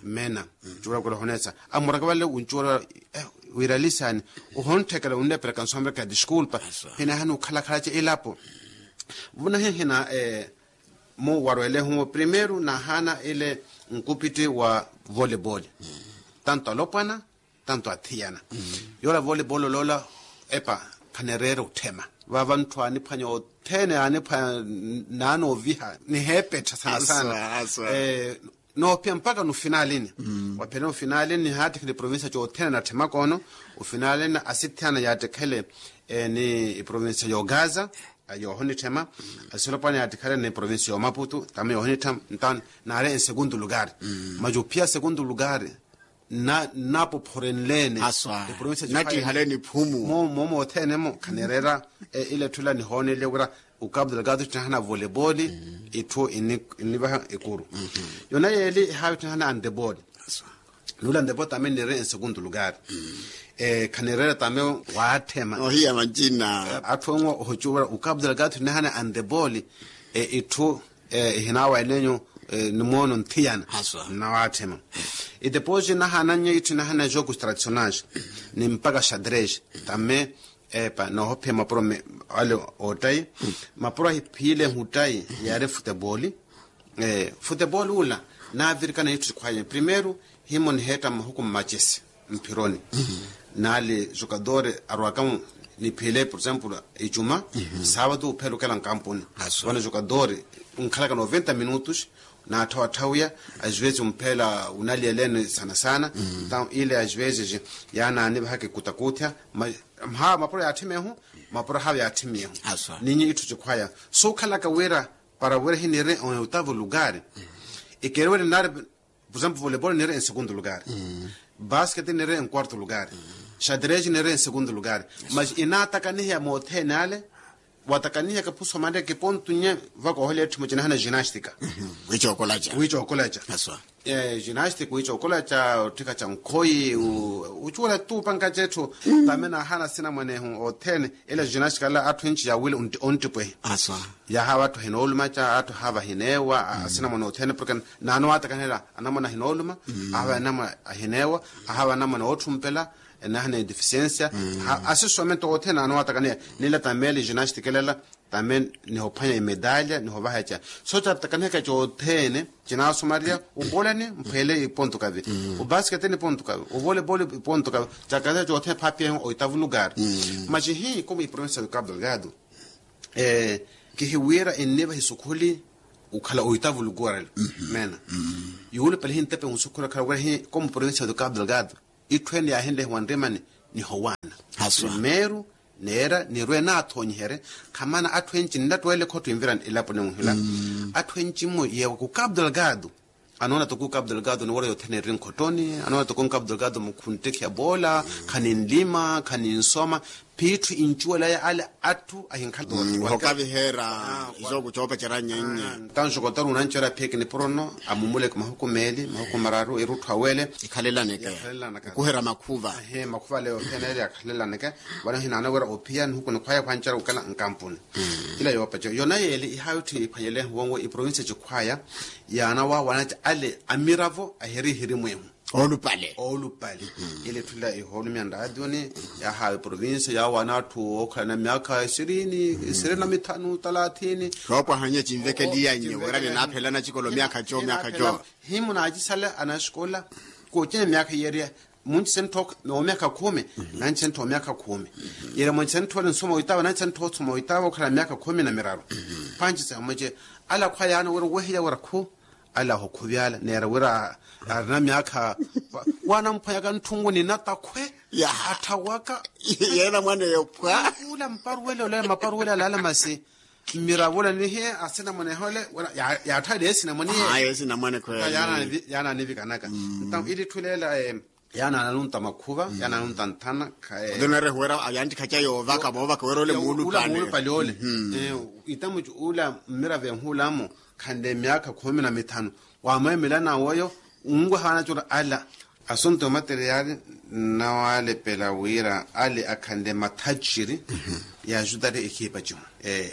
Mena. Cuula kwela ohoneesa amuraka vale uncuula. Wiralisani, uhontteka unleperaka nsoomeraka diskulpa. Hinaahana ukhalakhala ca ilapo. Vuna hihina mu warwelehu primeiro nahaana ile nkupitti wa voleibol. Tanto alopwana tanto athiyana. Yoola voleibol oloola epa khanereera otthema. Vaava ntthu aaniphwanya othene aaniphwanya naanooviha niheepettha saana saana. Noopiya mpakha nufinalini. Waphiyana ofinalini nihaattikhele iprovincia cothene natthema koono. Ofinalini asithiyana yaattikhele ni iprovincia yoogaza yoohonitthema. Asilopwana yaattikhele ni iprovincia yoomaputu tame yoohonitthema. Ntaani naari ensegundu lugari. Masi ophiya segundu lugari nnapophorenleene. Nattihaleni ephumu moomo othene-mo khanereera. Ile etthu ila nihoonele wira ukapu delgado ittinahana voleibol. Itthu innivaha ekuru yona yeeli ehaavi ittinahana antebol. Nuula antebol tame nniire ensegundu lugari. Khanereera tame waatthema ohiya mancina. Atthu enwo ohocuwela ukapu delgado ittinahana antebol. Itthu ihinaawa enenyu nimoono nthiyana. Nnawatthema. Iteposi nahaanannya itthu inahana jokus tradicionais ni mpakha xadres. Tame epa noohophiya mapuro ale ottayi. Mapuro ahiphiilehu ottayi yaari futeboli. Futeboli ula naavirikana itthu sikhwaya primeiro himo niheetta mmahuku mmacesi mphironi. Naali jukadori arwaka niphile por exemplo icuma, saavatu uphela okela nkampuni. Vano jukadori nkhalaka noventa minutos. Naatthawatthawiya ajwezi omphela unaliyeleni saana saana. Ntawo ile ajwezi yaanaanivahaka ekutakutthya. Mhawa mapuro yaatthimiyehu mapuro hawa yaatthimiyehu. Ninyi itthu cikhwaya suukhalaka wira para wira hiniire oitavu lugari. Ikeriwele nari por exemplo voleibol niire ensegundu lugari. Basket niire enkuartu lugari. Xadres niire ensegundu lugari. Masi inaatakaniheya moothene ale. Watakaniheya kapusu amanre kipontu nye vaka ohole etthu mucinahana ginastika. Wiicookolaca wiicookolaca. Ginastika wiicookolaca otthika ca nkhoyi. Ucuwela tuupanka cetthu. Tame naahana sinamwanehu othene. Ila ginastika ala atthu enci yaawile onttipwehi. Yaahaava atthu ahinoolumaca atthu ahaava ahineewa asinamwane othene porke naanowaatakanela anamwane ahinooluma. Ahaava anamwane ahineewa ahaava anamwane ootthumpela. Enahana edifisiensia asisome nto othene naanowaatakanela. Nila tame eli ginastika elela tame nihophwanya imedalya nihovaha eca. So catakanihaka cothene cinaasumariya ubolani mphwele ipontu kavi. Ubasiketeni ipontu kavi uvoleibol ipontu kavi. Cakaza cothene phaapiyahi oitavu lugari. Masi hi komu iprovincia ya ukapu delgado kihiwira ennivaha isukhuli okhala oitavu lugari. Mena yuulupale hintepe nsukhuli okhala wira hi komu provincia ya ukapu delgado. Itthu ene yaahinlehiwa nrimani nihowaana. Primeiro neera nirwe naathonyiherye khamana atthu enci nnattwele khotto envirani elapo nenwuhila. Atthu enci mmo yeewa ku kapu delgado anoona toko kapu delgado ni wira yothene eri nkhottoni anoona toko kapu delgado mukhu nttekhiya poola. Khaninlima khaninsoma phiitthu incuwelaya ale atthu ahinkhala. Hokaviheera isooko coopacerya nyenya. Ntanxo kontari unanci ora phiyeke nipuro nno amumuleke mahuku meeli mahuku mararu erutthu awele. Ikhalelaneke okuherya makhuva. Makhuva ale yothene eri yakhalelaneke. Vano hinaana wira ophiya nihuku nikhwaya khwancara okela nkampuni. Ila yoopacerya yona yeeli ihaayi otthi iphwanyelehu wonwo iprovincia cikhwaya yaana waawanatya ale amiravo ahiri ihiri mwehu. Oolupale oolupale. Ile etthu ila ihoolumya nraationi yaahawa eprovincia yaawana atthu ookhalana myaakha isirini isirini na mithanu talathini. Soopwahanya cinvekeliyanyu wira ninaaphelana cikolo myaakha co myaakha co. Himu naacisala anaxikola kocina myaakha yeeriya munci senttho omyaakha khumi. Nanci senttho omyaakha khumi yeeriya munci senttho ole nsoma oitaavo nanci senttho osoma oitaavo okhala myaakha khumi na miraru. Panci samwece ala khwayaana wira owehiya wira khu ala ahokhuvyala neera wira arina myaakha. Waanamphwanyaka ntthungu ni natakhwe atthawaka. Yeena mwaneyo phwa ula mparuwele ole maparuwele alaala masi. Mmiravula nihiye asinamwane ehole. Yaatthaliye esinamwane iye. Yaananivikanaka. Ntawo ili etthu leela yaanananunta makhuva, yaananunta nthana. Oto narehuwera ayantikhaca yoovaka moovaka wira ole muulupale ole. Itamucu ula mmiravo ehulamo khanle myaakha khumi na mithanu. Wamweemela nawoyo unwehaana cura ala. Asunto materiali nnawalepela wira ale akhanle mathacciri. Yaajutari ekhipa cihu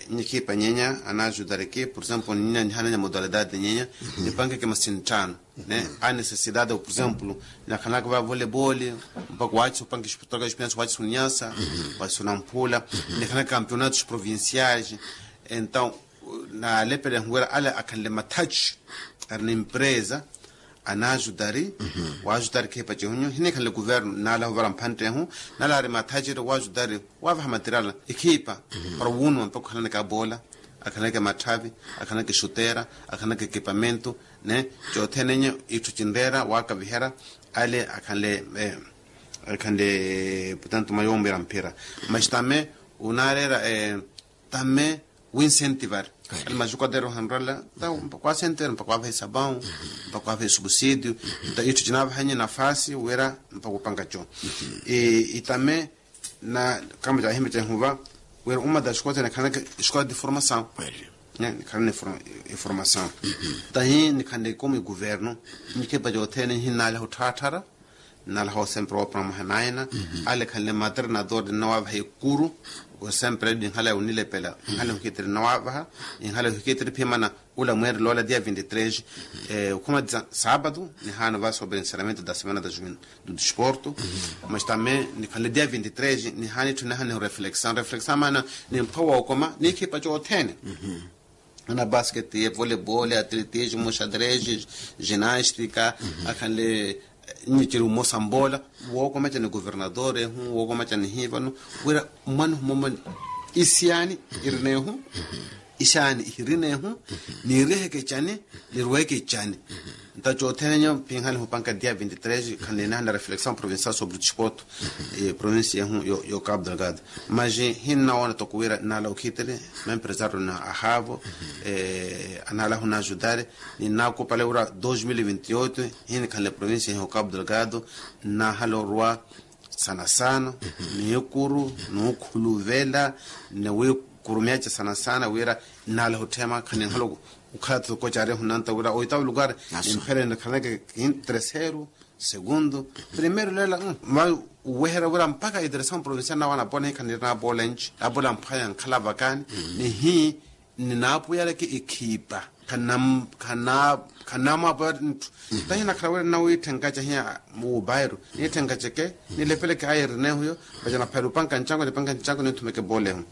nyi ekhipa nyenya anaajutari ki por exemplo nyenya nihananya modalidade nyenya nipankeke masinttano. Ne a necessidade por exemplo nakhanaka va volebole mpaka waaci upanke xiputaka xipinasi waaci sunyasa waaci sunamphula. Nikhanaka campeonatos provinciais. Entaw naalepela ehuwira ale akhanle mathaci ari na empresa anaajutari. Waajutari khipa cihunyu hinikhanle kuvernu naala huvara mphantte ehu naala ari mathaci eri waajutari waavaha material ekhipa para wuunuma mpaka okhalanaka boola akhalanaka matthavi akhalanaka exutera akhalanaka ekipamento ne cothene nyo itthu cinreera waakaviherya ale akhanle akhanle portanto mayoomira mphira mas tame unaareera tame winsentivar ali majukaderu hanrala mpaka wasentere mpaka waavaha esapau mpaka waavaha esubsidio. Nta itthu cinaavahanye nafasi wira mpaka upanka co itame na kama cahimba cahuva wira uma da escola tene khanaka escola de formação. Khanaka eformação tahi nikhanle como egoverno nikhipa cothene nhinalaha otthaattara nalaha osempre woopanamwaha naina ale khanle maternador nnawaavaha ekuru. Osempre ninhala onilepela inhala ohikitiri nnawaavaha inhala ohikitiri phimana ula mweerela ola dia vinti tres okhumatiza sapatu nihaana va sobre encerramento da semana da juventude do desporto. Mas também nikhanle dia vinti tres nihaana itthu nihana nireflexão reflexão maana nimpha wookoma nikhipa cothene ana basket ye volebol atletismo xadrez ginastica akhanle nyi ciri umosa mboola wookomecani governador ehu wookomecani hivano wira mmwana humomoni isiani irinehu isiani ihirinehu niiriheke cani nirweke cani. Nta cothene nyo pinhale hupanka dia vinti tres khanle nihana reflexão provincial sobre o desporto provincia ehu yo cabo delgado mas hinnawoona toko wira nala okhitiri mempresario na ahavo anala hunajudare ninakupale wira dos mil vinti oito hinikhanle provincia ehu cabo delgado nahala orwa sana sana niikuru nuukhuluvela niwiikurumyaca sana sana wira nala hutthema khaninhala okhala toko cari ehunanta wira oitawo lukari nimpherene khaneke kintereseru segundo primero leela va uweherya wira mpakha iteresamu provincial nawo anapona hikhanirina apoola enci apoola mphwaya nkhala vakani nihi ninaapuyaleke ekhipa khanamwaapuyala nthu tahi nakhala wira nnawiitthenkaca hiya wuupayiru niitthenkaca eke nilepeleke ayerinehu yo vaca naphayala opanka ncanko nipanka ncanko ninthumeke poola ehu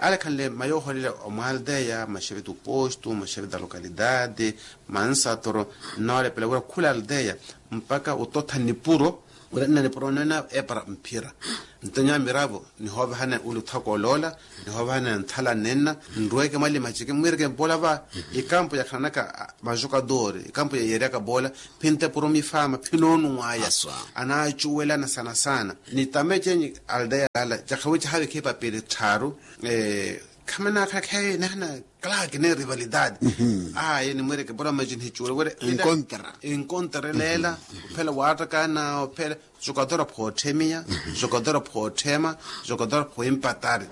ale khanle mayooholela omwaalteya maxefe tuposto maxefe ta lokalidade mansatoro nnawalepela wira khula alteya mpaka ototha nipuro wira nna nipuro nena epara mphira nto nyamiravo nihoovahana uli othaka oloola nihoovahana nthala nenna nrweke mwali macheke mwireke mpoola va ikampo yakhananaka majokadori ikampo yayeryaka poola phintepuro mifama phinoonunwaya anaacuwelana sana sana nitame cenyi alteya lala cakhawica havikhe epapiri tthaaru khamanakhala khaye nihana claro que ne rivalidade aye nimwireke pura mas nihicuwele wira encontra leela ophela waattakana ophela jogador phootthemiya jogador phootthema jogador phooimpatari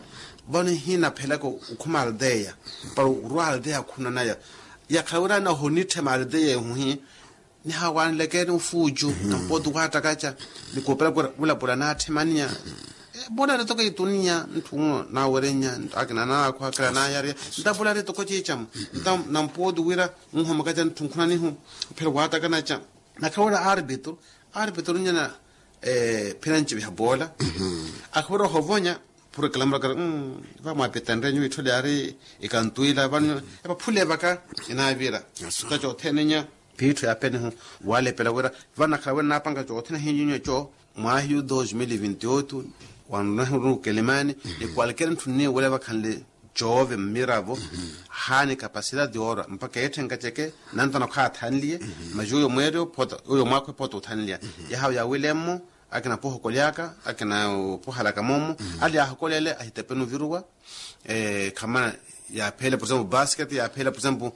vano hinaphelaka okhuma alteya para orwa alteya akhunanaya yakhala wira nahonitthema alteya ehuhi nihawanlekeni ofuucu nampooti waattakaca nikuupela kura vulapula naatthimannya epula ritoko ituniya ntthunno naawerenya akina naakho akila naayariya ntapula ritoko ciicamu ntampooti wira nhomakaca ntthunkhuna nihu phela waattakanaca nakhala wira arbitro arbitro nyana phira nciviha poola akhala wira ohovonya puro ekalamurakari vamwaapitenrye nyuwo itthole yaari ikantwila vano epaphule vaka inaavira tacothene nya phiittho ya penihu walepela wira vanakhala wira naapanka cothene hinyunyu eco mwahiyu dos mil vinti oito wanruna huruna okelimani ni kwalkere ntthu nniwele vakhanle coove mmiravo haani kapasidade yoorwa mpaka eetthenka ceke nantana okhaathanliye mas uyo mweeri ophota uyo mwaakho ephota othanliya yahawe yaawilemmo akina poohokolyaka akina opohalaka moomo ale yaahokolele ahitepeni oviruwa khamana Yaapheela por exemplo basket yaapheela por exemplo.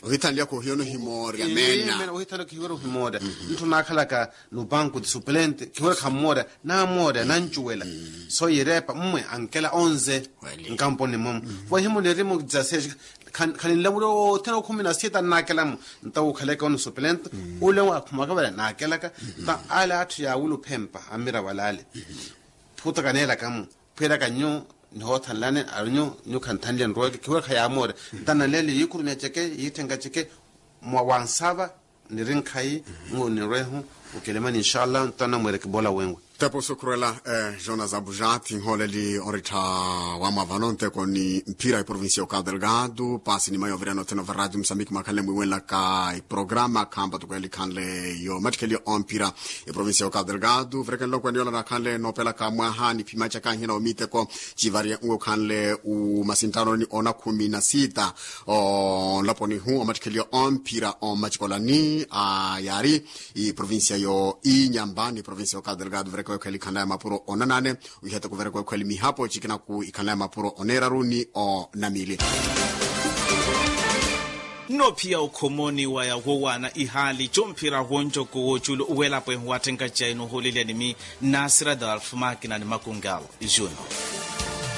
Ohithanlyaka ohiya onihimoorya meena. Ohithanlyaka ohiya onihimoorya. Ntthu naakhalaka no banco de suplente khiwira khammoorya namoorya nancuwela. So yireepa mmwe ankela onze nkamponi mmomu. Vahimo nirimo dezasseis. Khaninlamuliwa othene okhumi na sita nnaakelamu. Ntawo okhaleke onisuplente ule akhumaka vale naakelaka. Nta ale atthu yaawula ophempa ammira walaale. Phuta kaneelakamu phwiraka nyu nihoothanlani arinyu nyu khanthanlya nroweke khiwira khayamoorya. Nta nanleele yiikhurumya ceke yiitthenka ceke mwa wansava niri nkhayi. Ngu nirwehu okelemani inshallah nto anamweereke boola wenwe. Tepo sukhurela. Jonas abujati nhooleli orittha wamwa vano nteko ni mphira iprovincia ya okadelgado paasi ni mayi ovirana othene ova radio musambiki mwakhanle mwiiwenlaka iprograma khampa toko elikhanle yo mattikhelio omphira. Iprovincia ya okadelgado verekenle okwene yola nakhanle noopelaka mwaha ni phimacaka nhina omiteko civari nwe okhanle umasintano ni ona khumi na sita onlaponi hu omattikhelio omphira omacikolani a yaari iprovincia yo inyamba ni provincia ya okadelgado vereke wekho elikhanla ya mapuro onanane. Wiheteko vereke wekho elimihapo cikinaku ikhanla ya mapuro oneeraru ni onamili. Nnophiya okhomoni waya wowaana ihaali comphira wonjoko woculu uwelapwehu watthenka cayi nohuulelya nimi. Nasir adolf makina ni makungal juno.